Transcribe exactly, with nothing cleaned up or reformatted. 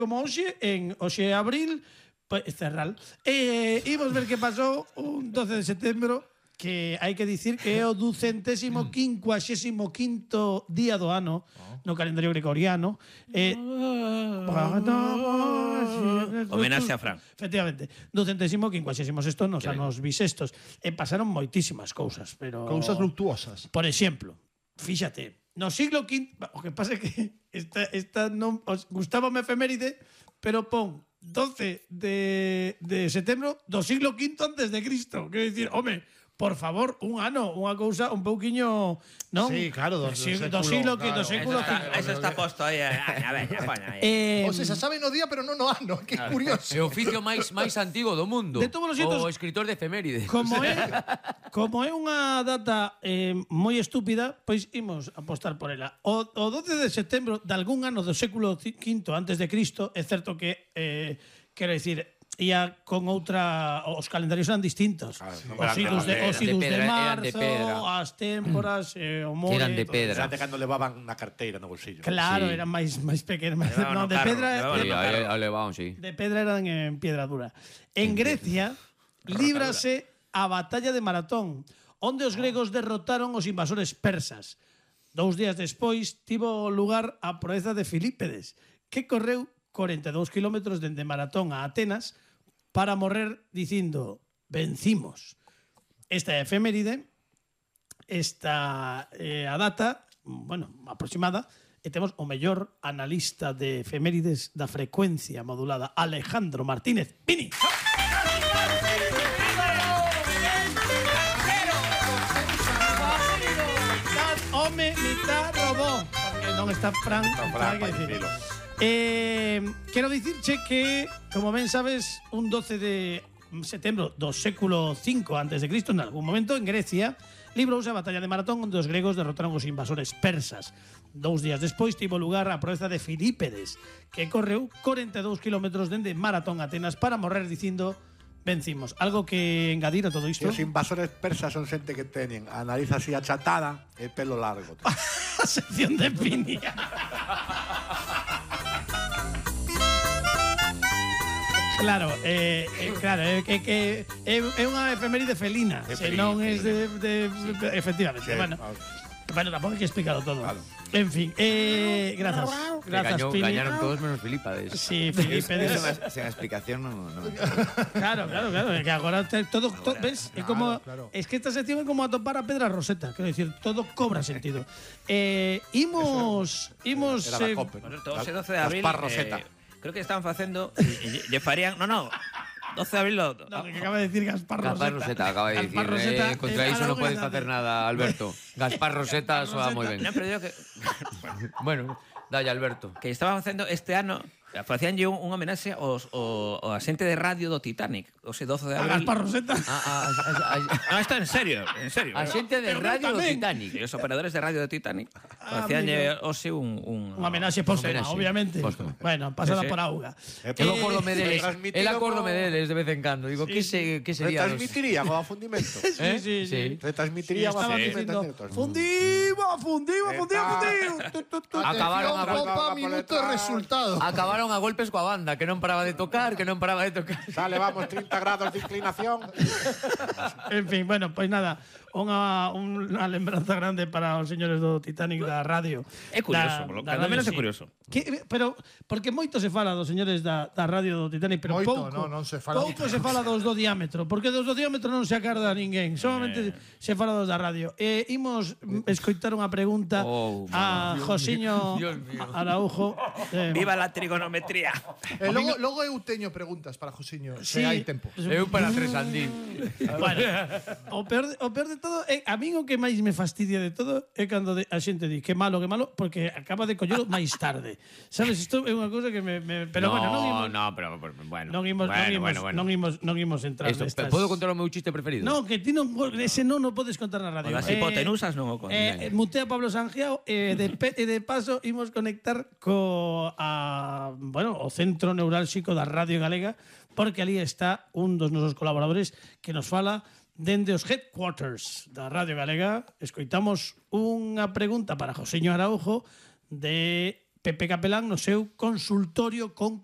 como hoxe, en hoxe abril, pues, cerral. E eh, imos ver que pasou un doce de setembro, que hai que dicir que é o ducentésimo quincuaxésimo quinto día do ano no calendario gregoriano. Eh, Homenaxe a Fran. Efectivamente, ducentésimo quincuaxésimo sexto nos Que anos bisestos. E pasaron moitísimas cousas, pero Cousas luctuosas. por exemplo, fíxate, no siglo quinto, o que pasa é que esta, esta non os gustábame efeméride, pero pon doce de, de setembro do siglo quinto antes de Cristo. Quero dicir, home, por favor, un ano, unha cousa un pouquiño, non? Sí, claro, do, do, siglo, do do siglo, claro. do Eso século está, cinco. eso está posto aí. A ver, coña. Eh, O sea, se sabe no día, pero non no ano. Que curioso. É o oficio máis máis antigo do mundo. De todos os xeitos, o escritor de efemérides. Como é, como é unha data eh, moi estúpida, pois imos apostar por ela. O, o doce de setembro de algún ano do século quinto antes de Cristo, é certo que, eh, quero dicir, ia con outra, os calendarios eran distintos. Claro, Os idus de, os de idus de pedra, eran de marzo, pedra. as témporas, eh, o more. Eran de todo. pedra. Xente cando levaban na carteira no bolsillo. Claro, Sí. eran máis máis pequenos. máis- Levaban No, no de carro, pedra, levaban Sí, no aí, carro. aí levaban, sí. de pedra eran en piedra dura. En Grecia líbrase a batalla de Maratón, onde os gregos derrotaron os invasores persas. Dous días despois tivo lugar a proeza de Filípedes, que correu corenta e dous kilómetros dende Maratón a Atenas para morrer dicindo vencimos. Esta é a efeméride, esta é a data, bueno, aproximada, e temos o mellor analista de efemérides da frecuencia modulada, Alejandro Martínez Pini. Mitad home, mitad robot. Porque non está Fran. Está Fran, hai que vai, decir. dicilo. Eh, quero dicirche que, como ben sabes, un doce de setembro do século cinco antes de Cristo, en algún momento en Grecia, librouse a batalla de Maratón onde os gregos derrotaron os invasores persas. Dous días despois tivo lugar a proeza de Filípedes, que correu corenta e dous kilómetros dende Maratón a Atenas para morrer dicindo vencimos. Algo que engadir a todo E isto? os invasores persas son xente que teñen a nariz así achatada e pelo largo. tío. A sección de Pini. Claro, eh, eh, claro, é que que é, é unha efeméride felina, É se felina, non é de, de, de efectivamente, Sí, bueno. vale. Bueno, tampouco hai que explicarlo todo. Claro. En fin, eh, grazas. Que Grazas, gañou, Pini. gañaron todos menos Filipades. Sí, Felipe. Eso más- sin explicación no, no. Claro, claro, claro, é que agora te, todo, to, ves, é como claro. es que esta sección é como atopar a Pedra Roseta, quero dicir, todo cobra sentido. Eh, imos imos Era da eh, Cope. Por certo, ese doce de abril, Gaspar Roseta. eh, creo que estaban facendo lle, lle farían, no, no, doce de abril lo, no, que acaba de decir Gaspar Roseta. Gaspar Roseta acaba de decir. Gaspar Roseta, eh, contra eh, iso non para podes unha facer tarde. nada, Alberto. Gaspar Roseta soa moi ben. No, pero digo que Bueno, dalle, Alberto. que estaban facendo este ano, facíanlle un, un homenaxe aos o, o a xente de radio do Titanic, o ese doce de A abril. Gaspar Roseta. A, a, a, a, No, está en serio, en serio. a xente de Pero radio do tamén. Titanic. E os operadores de radio do Titanic Ah, facíanlle hoxe un un Unha homenaxe póstuma, homenaxe. obviamente. Póstuma. Bueno, pasada Sí, sí. por auga. Eh, El pero- acórdome deles, Retransmitido el acórdome como- deles de vez en cando. Digo, que se que sería dos? Retransmitiría como a fundimento. Eh? Sí, sí, sí. Retransmitiría como a Estaba fundimento. dicindo, fundivo, fundivo, fundivo, fundivo. Tu, tu, tu. Acabaron a Atención, gol- Copa, minuto e resultado. Acabaron a golpes coa banda, que non paraba de tocar, que non paraba de tocar. Sale, vamos, treinta grados de inclinación. En fin, bueno, pois nada, unha, unha lembranza grande para os señores do Titanic da radio. É curioso, polo- cando menos é curioso. Que, pero, porque moito se fala dos señores da, da radio do Titanic, pero Moito, pouco, non, non se fala pouco moito. se fala dos do diámetro, porque dos do diámetro non se acarda ninguén, solamente se fala dos da radio. E imos escoitar unha pregunta Oh, a Josiño Dios mío. Araujo. Eh, Viva la trigonometría. E logo, logo eu teño preguntas para Josiño, se sí. hai tempo. Eu para tres andín. Bueno, o peor, de, o peor de todo é, a min o que máis me fastidia de todo é cando de, a xente di que malo, que malo, porque acaba de collelo máis tarde. Sabes, isto é unha cousa que me, me pero no, bueno, non imos no, pero, pero bueno. non imos, bueno, non imos, bueno, bueno. non imos, non imos entrar Esto, nestas. ¿Puedo contar o meu chiste preferido? No, que ti non ese non o podes contar na radio. O das hipotenusas non o contas. Eh, mutea Pablo Sangiao e eh, de pe, e de paso imos conectar co a, bueno, o centro neurálxico da Radio Galega, porque ali está un dos nosos colaboradores que nos fala dende os headquarters da Radio Galega. Escoitamos unha pregunta para Josiño Araujo de Pepe Capelán no seu consultorio con